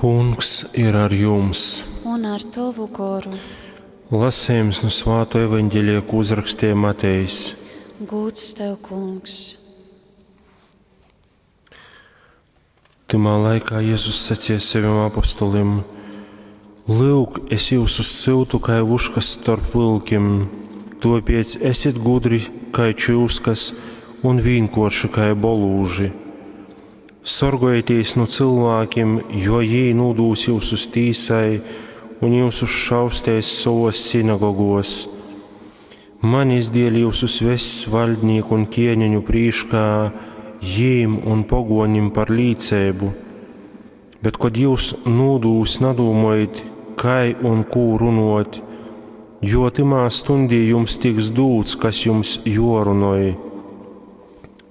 Kungs ir ar jums! Un ar tovu goru. Lasījums no Svāto evaņģēlija, ko uzrakstīja Matejs. Gūds tev, kungs! Tymā laikā Jēzus sacīja saviem apostolim: Lūk, es jūs syutu kai vuškas starp vilkim, tāpēc esiet gudri kai čūskas un vienkārši kai bolūži. Sorgojieties no cilvēkiem, jo jī nodūs jūs uz tīsai un jūs šaustēs savos sinagogos. Manis dēļ jūs vess valdnieku un ķēniņu prīškā, jīm un pogonim par līcēbu. Bet, kad jūs nūdūs, nadūmojit, kai un kū runot, jo timā stundī jums tiks dūts, kas jums jorunoj.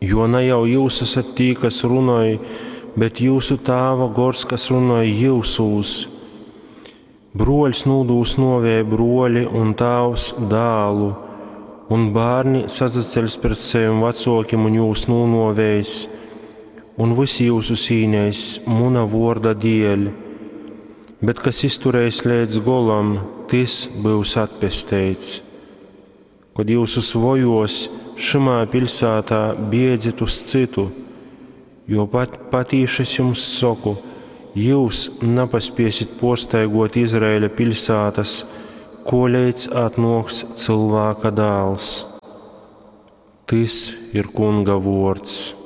Jo ne jau jūs esat tī, kas runoj, bet jūsu tāva gors, kas runoj jūsūs. Broļs nūdūs novē broļi un tāvs dālu, un bērni sazaceļs pret saviem vecokiem un jūs nūnovēs, un visi jūsu sīnēs muna vorda dēļ. Bet kas izturēs līdz golam, tis būs atpesteits. Kad jūsus vojos šimā pilsētā biedzit uz citu, jo pat patīši es jums saku, jūs nepaspiesit porstaigot Izraēļa pilsētas, kolēdz atnoks cilvēka dēls. Tis ir kunga vords.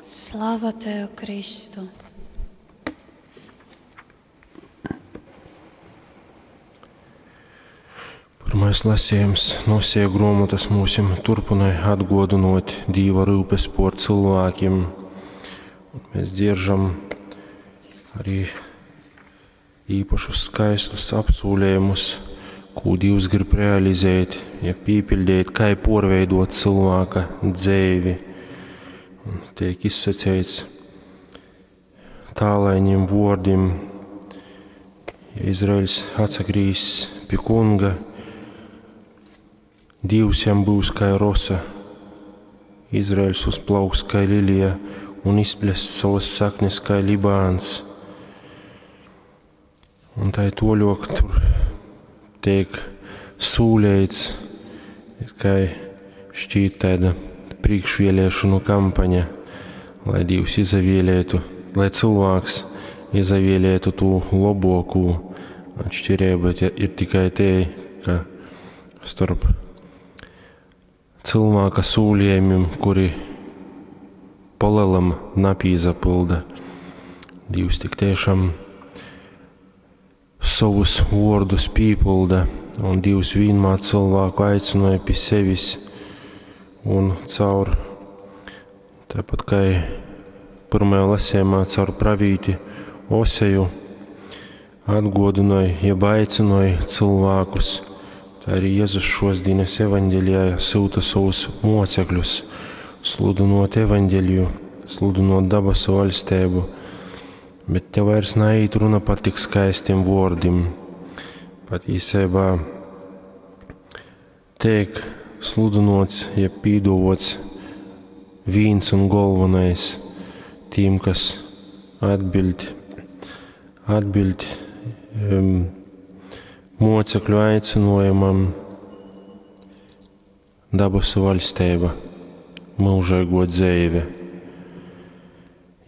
Slava tev, Kristu! Pirmais lasījums no Osija grāmatas mūsim turpināja atgodinot Dieva rūpes por cilvēkiem. Un mēs dzieržam arī īpašus skaistus apsūlējumus, ko Dievs grib realizēt, ja pīpildīt, kā porveidot cilvēka dzēvi. Un tiek izsacīts tālaiņiem vārdiem, ja Izraels atsagrīs pie kunga, Dievs jam būs kā rosa, Izraels uzplauks kā lilija un izples savas saknes kā Libāns. Un tā ir toļok tur tiek sūlēts, kā šķīt tāda priekšvēlēšanu kampaņa, lai Dievs izavēlētu, lai cilvēks izavēlētu to labāko. Atšķirība ir tikai te, ka starp cilvēka sūlījumiem, kuri palielam napīzapilda. Dievs tik tiešām savus vārdus pīpilda, un Dievs vienmēr cilvēku aicināja pie sevis un caur, tāpat kā pirmajā lasījumā caur pravīti Oseju, atgodināja, jeb aicināja cilvēkus. Tā arī Jēzus šos dienas evaņģēlijā sūta savus mocekļus, sludinot evaņģēliju, sludinot dabasu valstību, bet te vairs naiet runa par tik skaistiem vārdiem. Patiesībā tiek sludinots, jeb pīdovots viens un galvenais tiem, kas atbild, atbild mocekļu aicinājumam dabasu valstība, mūžīgo dzīve.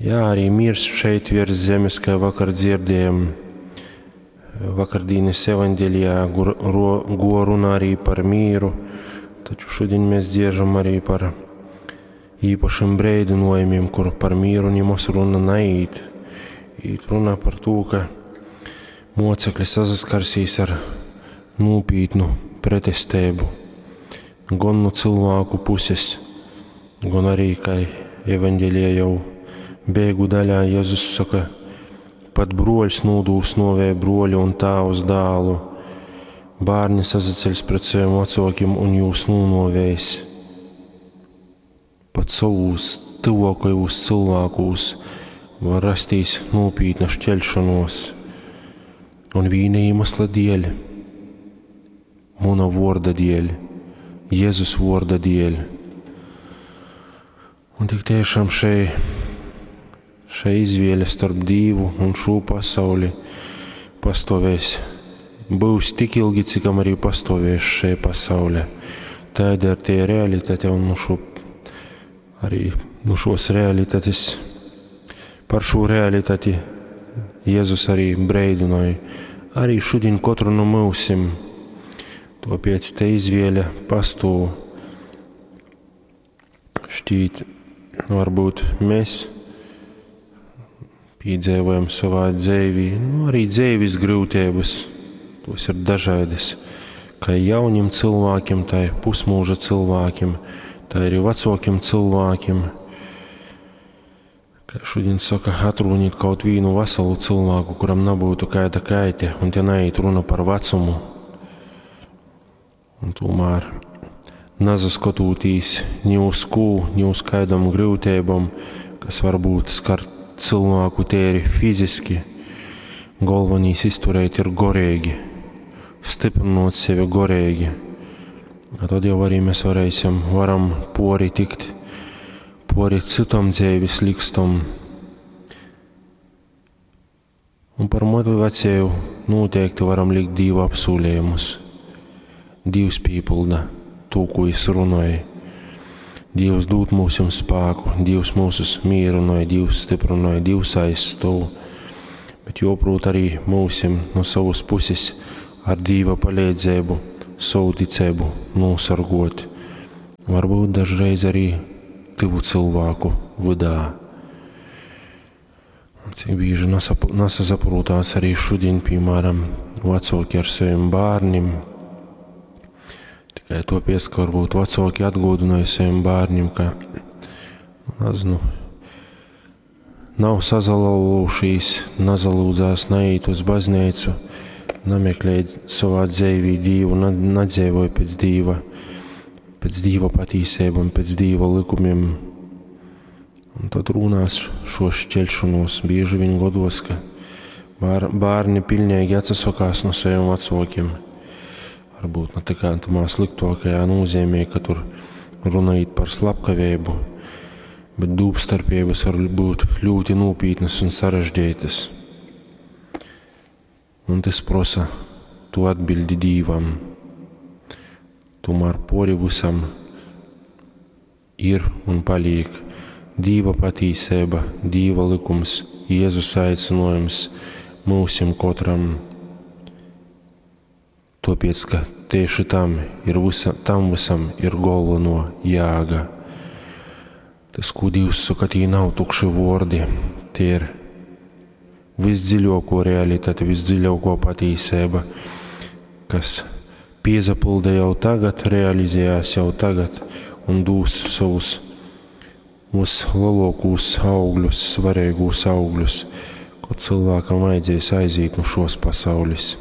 Jā, arī mirs šeit virs zemes, kā vakar dzirdējam, vakardienas evaņģēlijā, go runā arī par mīru, taču šodien mēs dziežam arī par īpašiem brīdinājumiem, kur par mīru nemaz runa naiet. Īt runa par to, ka mocekļi sasaskarsīs ar nopietnu pretestību, gan no cilvēku puses, gan arī, kā evaņģēlijā jau beigu daļā Jēzus saka, pat broļs nodūs novē broļu un tēvs dālu, bērni sazaceļs pret saviem vecākiem un jūs nūnovēs. Pat savus tuvākajos cilvēkos var rastīs nopietna šķelšanos. Un vīna iemesla dēļ, muna vorda dēļ, Jēzus vorda dēļ. Un tik tiešām šai, Šei izvēle starp Dīvu un šū pasauli pastuovēs, byus tik ilgi, cikam arī pastuovēs šei pasaule. Taida ir tie realitate un nu šo, arī nu šos realitates, par šo realitati Jēzus arī breidinoja. Arī šodien katru no mūsim. Tāpēc te izvēle pastāv. Šķīt, varbūt mēs piedzīvojam savā dzīvī, nu, arī dzīves grūtības, tos ir dažādas, kā jauniem cilvēkiem, tā pusmūža cilvēkiem, tā arī vecākiem cilvēkiem. Kā šodien saka, atrunīt kaut vienu veselu cilvēku, kuram nebūtu kaita kaite, un te neiet runa par vecumu. Un tomēr nazaskotūtīs ni uz kū, ni uz kādam grūtībām, kas varbūt skar cilvēku tēri fiziski, galvenais izturēt ir gorīgi, stiprinot sevi gorīgi. A tad jau arī mēs varēsim, varam pori tikt, pori citam dzīves likstam. Un par motivāciju noteikti varam likt Dīva apsūlējumus. Dievs pīpilda to, ko es runāju. Dievs dod mums spēku, Dievs mūsus mierināja, Dievs stiprināja, Dievs aizstāv. Bet joprot arī mūsim no savas puses ar Dieva palīdzību, savu ticību nosargot. Varbūt dažreiz arī tuvu cilvēku vidā. Un cik bieži nesasaprotās arī šodien, piemēram, vecāki ar saviem bērniem. Tikai topies, ka varbūt vecāki atgādināja saviem bērniem, ka, nezinu, nav sazalaulušies, nazalūdzās, neiet uz baznīcu, nemeklē savā dzīvī Dievu, nedzīvoja pēc Dieva, pēc Dieva patīsībām, pēc Dieva likumiem. Un tad runās šo šķelšanos. Bieži vien godos, ka bērni pilnīgi atsakās no saviem vecākiem. Varbūt ne tikai tamā sliktākajā nozīmē, ka tur runājot par slepkavību, bet dūpstarpības var būt ļoti nopietnas un sarežģītas. Un tas prasa tu atbildi Dievam. Tomēr pori visam ir un paliek Dieva patīsība, Dieva likums, Jēzus aicinājums mūsim katram. Tāpēc, ka tieši tam ir visa, tam visam ir galveno jēga. Tas, ko Dievs saka, tie nav tukši vārdi, tie ir visdziļāko realitāte, visdziļāko patīsība, kas piezapilda jau tagad, realizējās jau tagad un dūs savus vislielākos augļus, svarīgos augļus, ko cilvēkam vajadzēs aiziet no šos pasaules.